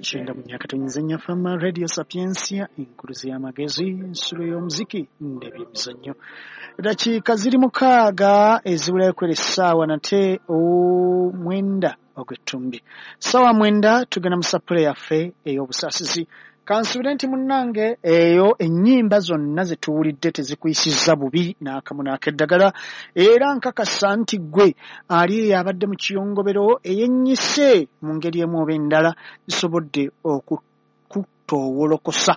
94 Fama Radio Sapientia, enkuluzi y'amagezi, ensulo y'omuziki n'ebyemizannyo. Dakiika ziri 6 ezibulayo kwera essaawa nate 9 ogw'ettumbi. Ssaawa 9 tugenda mu sapule yaffe ey'obusaasizi. Kansuubire nti munnange eyo ennyimba zonna ze tuwulidde tezikuyisizza bubi n'akamu n'akeddagala, era nkakasa nti ggwe ali eyo abadde mu kiyongobero eyennyise mu ngeri emu oba endala zisobodde okukutoowolokosa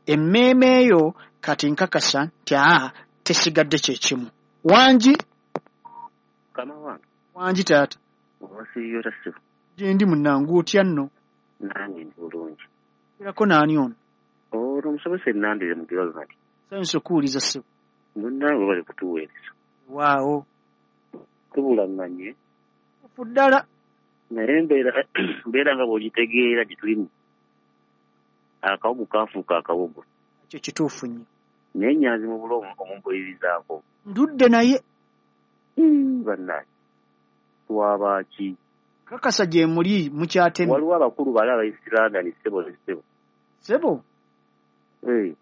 emmeeme eyo. Kati nkakasa nti tesigadde kye kimu. Wangi Mukama wange. Wangi taata. Owasiibye otya ssebo? Gye ndi munnange, otya nno? Nange ndi bulungi. Erako naani ono? Ono omusomesa Ennandire mu Ronald. Nsanyuse okuwuliza ssebo. Munnange bali kutuweereza. Waawo. Tubulaŋŋanye. Tuufu ddala. Naye mbeera nga bw'ogitegeera gye tulimu. Akawogo kaafuuka akawogo. Ekyo kituufu nnyo. Naye Nyanzi mu bulo omumpulirizaako. Ndudde naye. Bannange. Twabaaki? Kakasa gye muli mukyatemye. Waliwo abakulu bali ab'e London ssebo ne ssebo. Ssebo?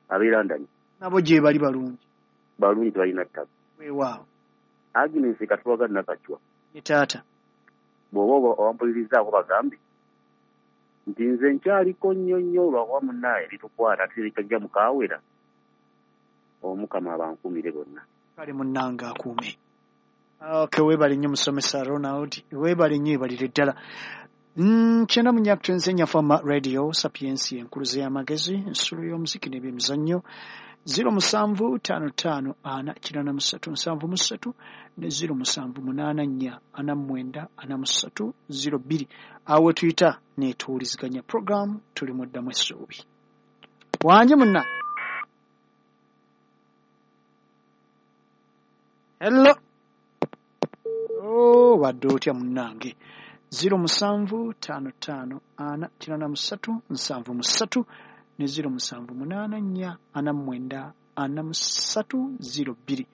Ab'e London. Nabo gye bali balungi. Balungi tebalina ttaka. Weewaawo. Agnes Katwaga Nakacwa. Ye taata. Bw'oba owampulirizaako bagambe nti nze nkyaliko nnyo nnyo lwakuba munnaaye bitukwata ate bikajja mukaawera. Omukama abankuumire bonna. Kale munnange akuume. Okay, weebale nnyo musomesa Ronald, weebale nnyo ebalire ddala. 94 Fama Radio Sapientia, enkuluzi y'amagezi, ensulo y'omuziki n'ebyemizannyo. 07 55 4 83 73 ne 07 84 49 43 02. Awo tuyita netuwuliziganya program tuli mu ddamu essuubi. Wangi munna. Hello. Oh, wadde otya munnange? 07 55 4 83 73 ne 07 84 49 43 02.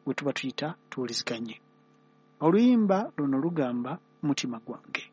We tuba tuyita tuwuliziganye. Oluyimba luno lugamba mutima gwange.